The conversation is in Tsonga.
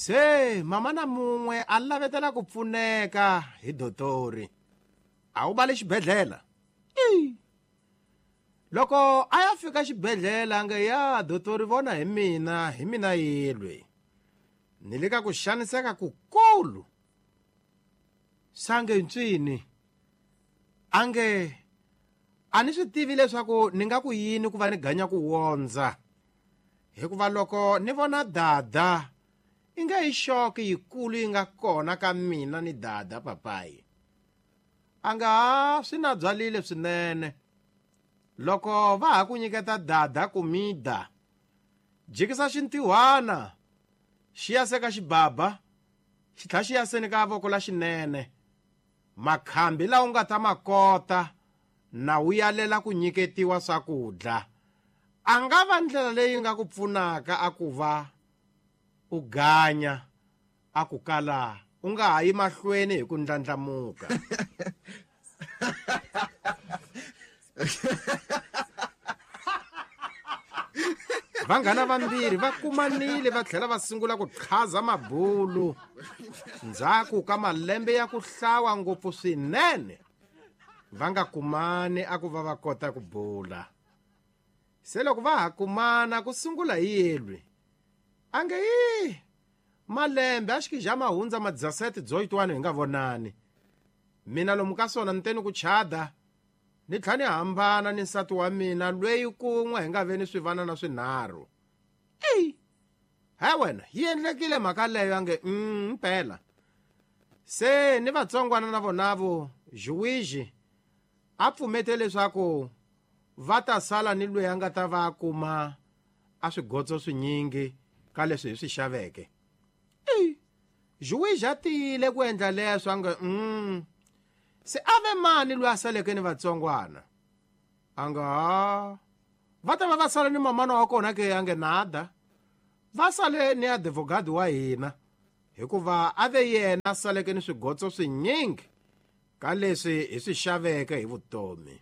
Se mama na mun'we a lavetela ku pfuneka hi dotori. A wu bale xibedhlele. Loko a ya fika xibedhlele a nge ya dotori vona hi mina, hi mina yelwe. Ni le ka ku xaniseka kukulu. Sange ntswini a nge a ni swi tivi leswaku ni nga ku yini ku va ni ganya ku wondza. Hikuva loko ni vona dada i nge yi xoki yikulu yi nga kona ka mina ni dada papayi. A nga ha swi na byalile swinene. Loko va ha ku nyiketa dada kumida, jikisa xintihwana xi ya se ka xibaba, xi tlha xi ya seni ka voko la xinene. Makhambi lawa u nga ta ma kota na wu yalela ku nyiketiwa swakudya. A nga va ndlela leyi nga ku pfunaka a ku va u ganya a ku kala u nga ha yi mahlweni hi ku ndlandlamuka. Vanghana vambirhi va kumanile va tlhela va sungula ku qhaza mabulu ndzhaku ka malembe ya ku hlawa ngopfu swinene va nga kumani a ku va va kota ku bula. Se loko va ha kumana ku sungula hi yelwi a nge yi malembe a xikija ma hundza madzasete dzoyitwani hi nga vonani. Mina lomu ka swona ni teni ku chada ni tlha ni hambana ni nsati wa mina lweyi kun'we hi nga ve ni swivanana swinharhu. Eyi he wena yi endlekile mhaka leyo a nge mpela. Se ni vatsongwana na vonavo Juwiji a pfumete leswaku va ta sala ni lweyi a nga ta va kuma a swigotso swinyingi ka leswi hi swi xaveke. Eyi Juwiji a tiyile ku endla leswo a nge Se a ve mani loyi a saleke ni vatsongwana? A nga ha va ta va va sale ni mamana wa kona ke a nge nada. Va sale ni advogado wa hina hikuva a ve yena a saleke ni swigotso swinyingi ka leswi hi swi xaveke hi vutomi.